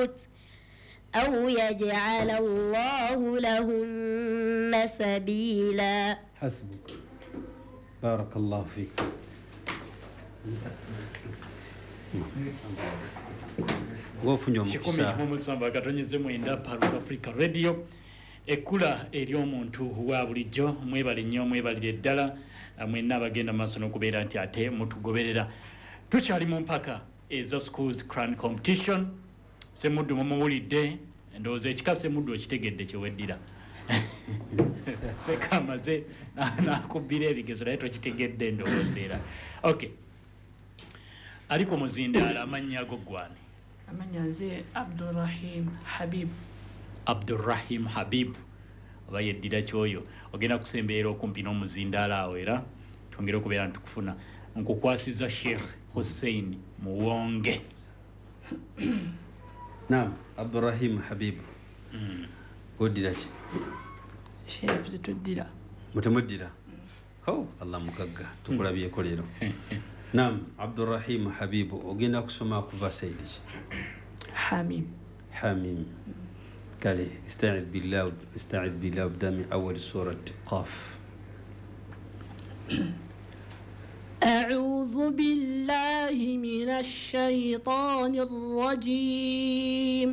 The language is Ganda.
الموت أو يجعل الله لهن سبيلا. حسبك، بارك الله فيك. Ng'ofunye omukisa. 179 Pearl of Africa Radio, ekkula ery'omuntu wa bulijjo. Mwebale nnyo, mwebalire ddala mwenna abagenda maaso n'okubeera nti ate mutugoberera. Tukyali mu mpaka eza Schools Quran Competition. Semuddu mumuwulidde, ndowooza ekika Semuddu okitegedde kyeweddira. Seka amaze nakubbira ebigezo naye tokitegedde ndowooza era. Okay, ali ku muzindaalo, amannya ago gwani? Amannya nze Abdurahim Habib. Abdurahim Habib oba yeddira kyoyo. Ogenda kusembeera okumpi n'omuzindaalo awo era twongere okubeera ntukufuna. Nkukwasiza Sheikh Hussein Muwonge. Naam, Abdurahim Habib, oddira ki? Sheikh, tetuddira. Mutemuddira? Ho, Allah mugagga, tukulabyeko leero. Naam, Abdurahim Habibu, ogenda kusoma kuva saidi ki? Hamim. Hamim. Kale istaid billah, istaid billah, bda min awali surat Qaf. أعوذ بالله من الشيطان الرجيم.